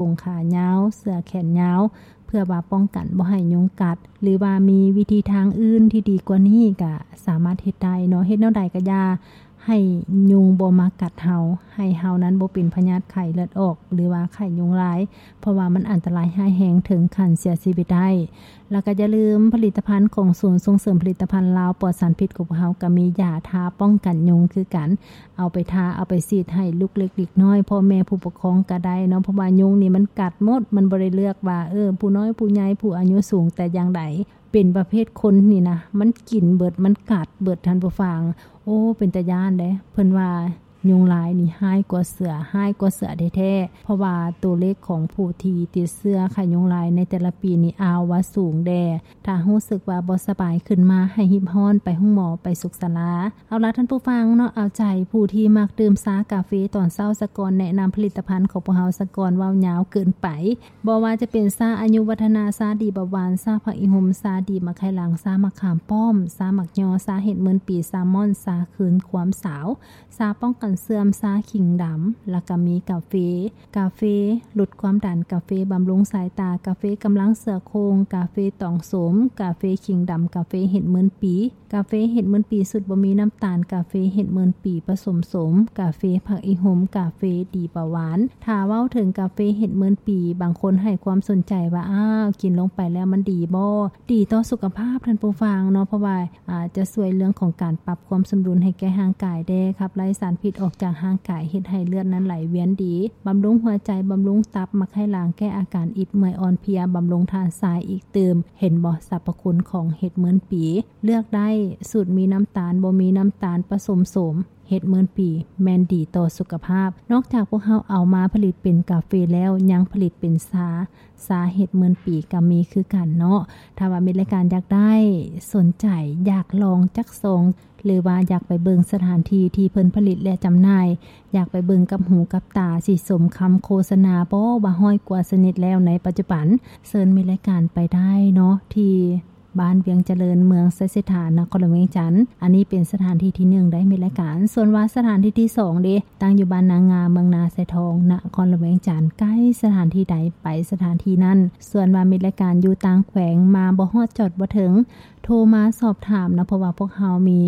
ໂປງຂາຍາວ, ເສື້ອແຂນຍາວ ເພື່ອວ່າປ້ອງກັນບໍ່ໃຫ້ຍຸງກັດ ຫຼືວ່າມີວິທີທາງອື່ນທີ່ດີກວ່ານີ້ກະສາມາດເຮັດໄດ້ເນາະ. ເຮັດແນວໃດກະຢ່າໃຫ້ຍຸງບໍ່ມາກັດເຮົາ, ໃຫ້ເຮົານັ້ນບໍ່ເປັນພະຍາດໄຂ້ເລືອດອອກ ຫຼືວ່າໄຂ້ຍຸງລາຍ ເພາະວ່າມັນອັນຕະລາຍຮ້າຍແຮງເຖິງຂັ້ນເສຍຊີວິດໄດ້. ແລ້ວກໍຢ່າລືມຜະລິດຕະພັນຂອງສູນສົ່ງເສີມຜະລິດຕະພັນລາວປອດສານພິດຂອງພວກເຮົາ ກໍມີຢາທາປ້ອງກັນຍຸງຄືກັນ. ເອົາໄປທາ ເອົາໄປສີດໃຫ້ລູກເລັກເດັກນ້ອຍ ພໍ່ແມ່ຜູ້ປົກຄອງກໍໄດ້ເນາະ ເພາະວ່າຍຸງນີ້ມັນກັດໝົດ ມັນບໍ່ໄດ້ເລືອກວ່າ ເອີ ຜູ້ນ້ອຍຜູ້ໃຫຍ່ ຜູ້ອາຍຸສູງແຕ່ຢ່າງໃດ. ເປັນປະເພດຄົນນີ້ນະ ມັນກິນເບິດ ມັນກັດເບິດ ທ່ານຜູ້ຟັງ. ໂອ້ ເປັນຕາຢ້ານເດ້. ເພິ່ນວ່າ ຍຸງລາຍນີ້ຮ້າຍກວ່າເສືອ, ຮ້າຍກວ່າເສືອແທ້ໆ ເພາະວ່າໂຕເລກຂອງຜູ້ທີ່ຕິດເຊື້ອໄຂ້ຍຸງລາຍໃນແຕ່ລະປີນີ້ ອ້າວ ວ່າສູງແດ່. ຖ້າຮູ້ສຶກວ່າບໍ່ສະບາຍຂຶ້ນມາ ໃຫ້ຮີບຮ້ອນໄປໂຮງໝໍ, ໄປສຸກສາລາ. ເອົາລະທ່ານຜູ້ຟັງເນາະ, ເອົາໃຈຜູ້ທີ່ມັກດື່ມຊາກາເຟຕອນເຊົ້າສາກ່ອນ, ແນະນຳຜະລິດຕະພັນຂອງພວກເຮົາສາກ່ອນ, ເວົ້າຍາວເກີນໄປ. ບໍ່ວ່າຈະເປັນຊາອາຍຸວັດທະນາ, ຊາດີເບົາຫວານ, ຊາຜັກອີ່ຫຸມ, ຊາດີໝາກໄຂ່ຫຼັງ, ຊາໝາກຂາມປ້ອມ, ຊາໝາກຍໍ, ຊາເຫັດໝື່ນປີ, ຊາມອນ, ຊາຄືນຄວາມສາວ, ຊາປ້ອງກັນເສື່ອມ, ຊາຂີງດຳ, ແລ້ວກໍມີກາເຟ, ກາເຟຫຼຸດຄວາມດັນ, ກາເຟບຳລຸງສາຍຕາ, ກາເຟກຳລັງເສືອໂຄ່ງ, ກາເຟຕອງໂສມ, ກາເຟຂີງດຳ, ກາເຟເຫັດໝື່ນປີ, ກາເຟເຫັດໝື່ນປີສູດບໍ່ມີນ້ຳຕານ, ກາເຟເຫັດໝື່ນປີປະສົມໂສມ, ກາເຟຜັກອີ່ຫຸມ, ກາເຟດີເບົາຫວານ. ຖ້າເວົ້າເຖິງກາເຟເຫັດໝື່ນປີ, ບາງຄົນໃຫ້ຄວາມສົນໃຈວ່າ ອ້າວ ກິນລົງໄປແລ້ວມັນດີບໍ່? ດີຕໍ່ສຸຂະພາບ ທ່ານຜູ້ຟັງເນາະ, ເພາະວ່າ ອາດຈະຊ່ວຍເລື່ອງຂອງການປັບຄວາມສົມດຸນໃຫ້ແກ່ຮ່າງກາຍແດ່, ຂັບໄລ່ສານພິດອອກຈາກຮ່າງກາຍ, ເຮັດໃຫ້ເລືອດນັ້ນໄຫຼວຽນດີ, ບຳລຸງຫົວໃຈ, ບຳລຸງຕັບ, ໝາກໄຂ່ຫຼັງ, ແກ້ອາການອິດເມື່ອຍອ່ອນເພຍ, ບຳລຸງທາດຊາຍອີກຕື່ມ. ເຫັນບໍ່ ສັບພະຄຸນຂອງເຫັດໝື່ນປີ? ເລືອກໄດ້, ສູດມີນ້ຳຕານ, ບໍ່ມີນ້ຳຕານປະສົມໂສມ, ເຫັດໝື່ນປີແມ່ນດີຕໍ່ສຸຂະພາບ. ນອກຈາກພວກເຮົາເອົາມາຜະລິດເປັນກາເຟແລ້ວ, ຍັງຜະລິດເປັນຊາ, ຊາເຫັດໝື່ນປີກໍມີຄືກັນເນາະ. ຖ້າວ່າມິດລາຍການຢາກໄດ້, ສົນໃຈ, ຢາກລອງຈັກຊອງ ຫຼືວ່າຢາກໄປເບິ່ງສະຖານທີ່ທີ່ເພິ່ນຜະລິດ ແລະ ຈຳໜ່າຍ, ຢາກໄປເບິ່ງກັບຫູກັບຕາ, ຊິສົມຄຳໂຄສະນາບໍ່ວ່າຮ້ອຍກວ່າຊະນິດແລ້ວໃນປັດຈຸບັນ, ເຊີນມິດລາຍການໄປໄດ້ເນາະ ທີ່ ບ້ານວຽງຈະເລີນ, ເມືອງໄຊເສດຖາ, ນະຄອນຫຼວງວຽງຈັນ. ອັນນີ້ເປັນສະຖານທີ່ທີໜຶ່ງໄດ້ມິດລາຍການ. ສ່ວນວ່າສະຖານທີ່ທີສອງເດ, ຕັ້ງຢູ່ບ້ານນາງາ, ເມືອງນາຊາຍທອງ, ນະຄອນຫຼວງວຽງຈັນ, ໃກ້ສະຖານທີ່ໃດໄປສະຖານທີ່ນັ້ນ. ສ່ວນວ່າມິດລາຍການຢູ່ຕ່າງແຂວງ, ມາບໍ່ຮອດ, ຈອດບໍ່ເຖິງ, ໂທມາສອບຖາມນະ, ເພາະວ່າພວກເຮົາມີ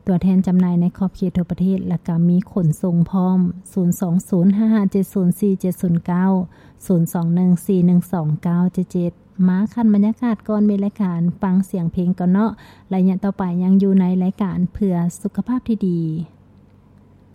ຕົວແທນຈຳໜ່າຍໃນຂອບເຂດທົ່ວປະເທດ ແລະ ກະມີຂົນສົ່ງພ້ອມ. ສູນສອງສູນຫ້າຫ້າເຈັດສູນສີ່ເຈັດສູນເກົ້າ, ສູນສອງໜຶ່ງສີ່ໜຶ່ງສອງເກົ້າເຈັດເຈັດ. ມາຂັ້ນບັນຍາກາດກ່ອນເມລາຍການ, ຟັງສຽງເພງກ່ອນເນາະ. ໄລຍະຕໍ່ໄປຍັງຢູ່ໃນລາຍການເພື່ອສຸຂະພາບທີ່ດີ.